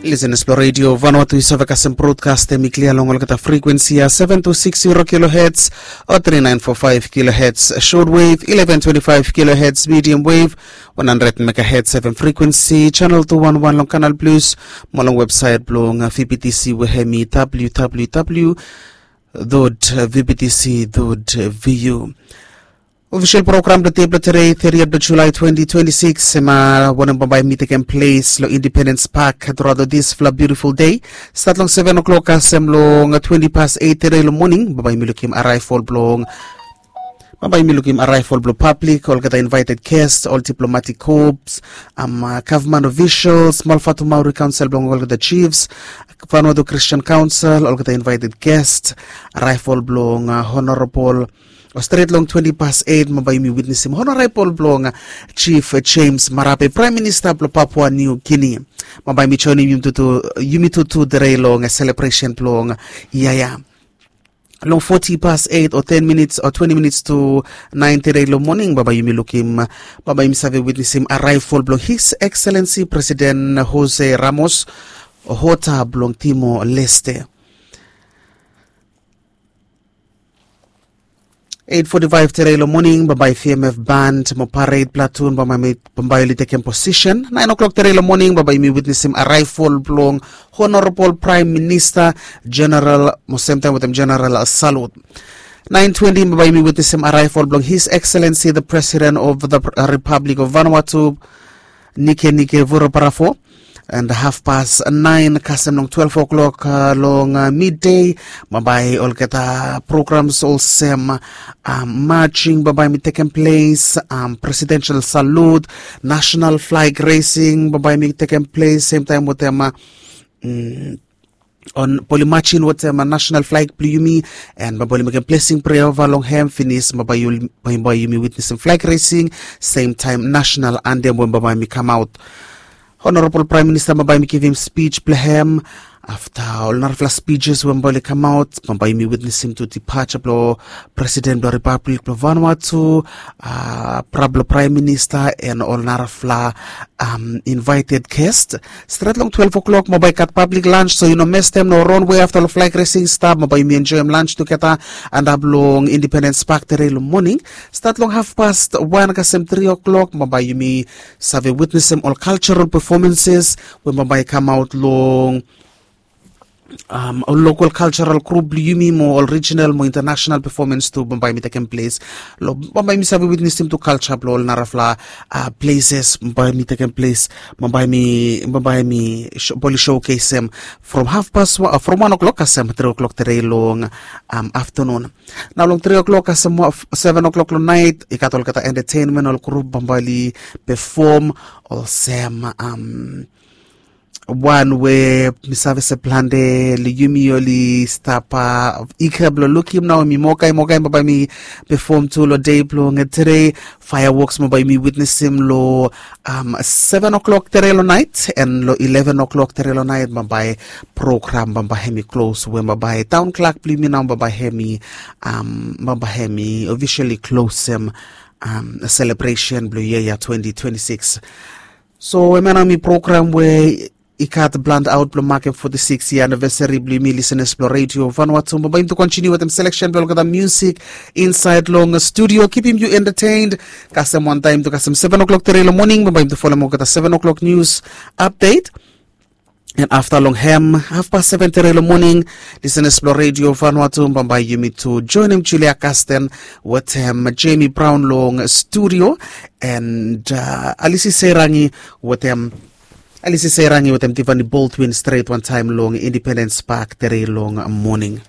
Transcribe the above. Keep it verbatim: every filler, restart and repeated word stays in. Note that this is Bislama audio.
Lisenas blong redio Vanuatu i save kasem brodkast em i klia long olgeta frekuensi ya, seven two six zero kilohertz o three nine four five kilohertz shortwave, eleven twenty five kilohertz medium wave, one hundred megahertz seven frekuensi, channel two one one long Kanal Plus, mo long website blong V B T C we hem i www dot V B T C dot V U. Ofisel program blong dei blong tere, thirtieth blong Julai twenty twenty-six, em a wanem bambae mi tekem ples long Independence Park throughout this fla beautiful day. Stat long seven o'clock kasem long twenty past eight tere long moning, bambae mi lukim arrival blong bambae mi lukim arrival blong public, olgeta invited guest, ol diplomatic corps, um, uh, government officials, Malfatu Maori Council blong olgeta chiefs, Vanuatu Christian Council, olgeta invited guest, arrival blong uh, honorable o stret long twenty past eight, bambae yumi witnesim honorable blong uh, Chief James Marape, Prime Minister blong Papua New Guinea. Bambae mi joinim yumi tutu, yumi tutu tere long uh, celebration blong uh, yaya. Long forty past eight o ten minutes o twenty minutes to nine tere long moning, bambae yumi lukim, bambae yumi save witnesim arrival blong His Excellency President Jose Ramos Horta blong Timor Leste. Eight forty-five tere long moning, bambae V M F band mo parade platoon, bambae mi, bambae oli tekem posisen. Nine o'clock tere long moning, bambae yumi witnesim arrival blong Honorable Prime Minister, General, mo semtaem wetem General salute. Nine twenty, bambae yumi witnesim arrival blong His Excellency the President of the Pr- uh, Republic of Vanuatu, Nike Nike Vurobarapo. And half past nine kasem long twelve o'clock uh, long uh, midday, bambae olgeta programs olsem uh, marching bambae mi tekem ples, um, presidential salute, national flag raising bambae mi tekem ples, semtaem wetem uh, mm, on bambae oli marching wetem uh, national flag blong yumi, and bambae oli mekem blessing prayer ova long hem finis, bambae yumi witnesim flag raising, semtaem national anthem we bambae mi kamaot. Honorable Prime Minister bambae mi givim speech blong hem. Afta ol narafala speeches we bambae oli kamaot, bambae yumi witnesim tu departure blong President blong Republic blong Vanuatu, uh, pra blong Prime Minister and ol narafala um, invited guest. Stret long twelve o'clock bambae i gat public lunch, so yu no mestem, no ronwe afta long flag raising stap, bambae yumi enjoem lunch tugeta antap long Independence Park tere long moning. Stat long half past one kasem three o'clock, bambae yumi save witnesim ol cultural performances we bambae i kamaot long um, ol local cultural group blong yumi mo ol regional mo international performance tu bambae mi tekem ples. Long bambae mi save witnesim tu culture blong ol narafala uh, places bambae mi tekem ples, bambae mi, bambae mi sho- bambae oli showcasem from half past one, uh, from one o'clock kasem three o'clock tere long um, afternoon. Nao long three o'clock kasem seven o'clock long night i gat olgeta entertainment ol group bambae oli perform olsem um, wan we mi save se plante long yumi oli stap uh, ika blong lukim nao mi mokai mokai bambae mi perform tu long dei blong tere. Fireworks bambae mi witnesim long um, seven o'clock tere long night, and long eleven o'clock tere long night bambae program bambae hem i close we bambae town clerk blong yumi nao bambae hem i um, bambae hem i officially closem um, celebration blong yia ya twenty twenty-six. So hemia nao mi program we i gat blend out blong makem forty-six year anniversary blong yumi listeners blong radio Vanuatu. Bambae yumi tu continue wetem selection blong olgeta music inside long studio, keeping you entertained. Kasem wantaem tu kasem seven o'clock tere long moning, bambae yumi tu folem olgeta seven o'clock news update. And afta long hem half past seven tere long moning, listeners blong radio Vanuatu, bambae yumi tu joinim Julia Casten wetem Jamie Brown long studio, and uh, Alisi Seirangi wetem Alisi Seirangi wetem Tiffany Baldwin stret wantaem long Independence Park tere long moning.